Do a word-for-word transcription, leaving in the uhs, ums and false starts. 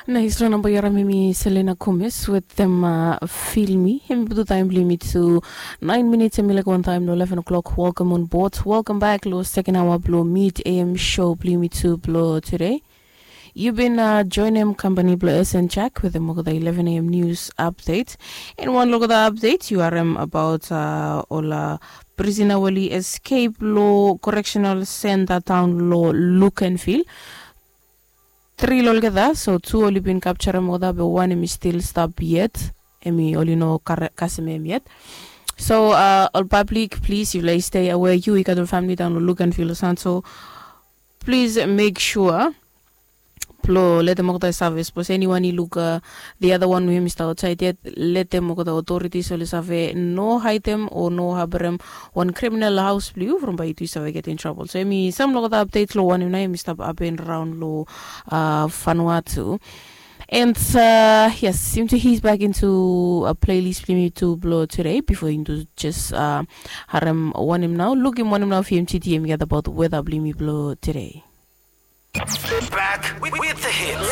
Na histori namba yu harim em i Selena Gomez wetem Feel Me. Em i putum taem blong yumi tu naen minits, em i laek wantaem long eleven o'clock. Welcome on board, welcome back long second hour blong Mid A M show blong yumi tu blong tude. Yu bin joenem kampani blong S N Jack wetem olgeta eleven A M news update. An wan long olgeta update yu harim abaot ol prisona we oli escape long correctional center daon long Luganville. Tri long olgeta, so tu oli bin kapjarem olgeta be wan em i stil stap yet. Em i oli no kasem em yet. So ol pablik, plis yufala i stay aware. Yu i gat ol famili daon long Luganville o san, so plis mek sua blong letem olgeta i save, sapos eniwan i luk the other one we hem i stap aotsaed yet, letem olgeta otoritis oli save no haedem o no haberem wan kriminal haos blong yu from bae yu tu i save getem trabol. So em i sam long olgeta apdet long wanem nao em i stap hapen raon long Vanuatu. And yes, yumi tu his back into playlist blong yumi tu blong tude bifo yumi tu jes harem wanem nao, lukim wanem nao fi M T D em i gat abaot weta blong yumi blong tude. Back with the hits.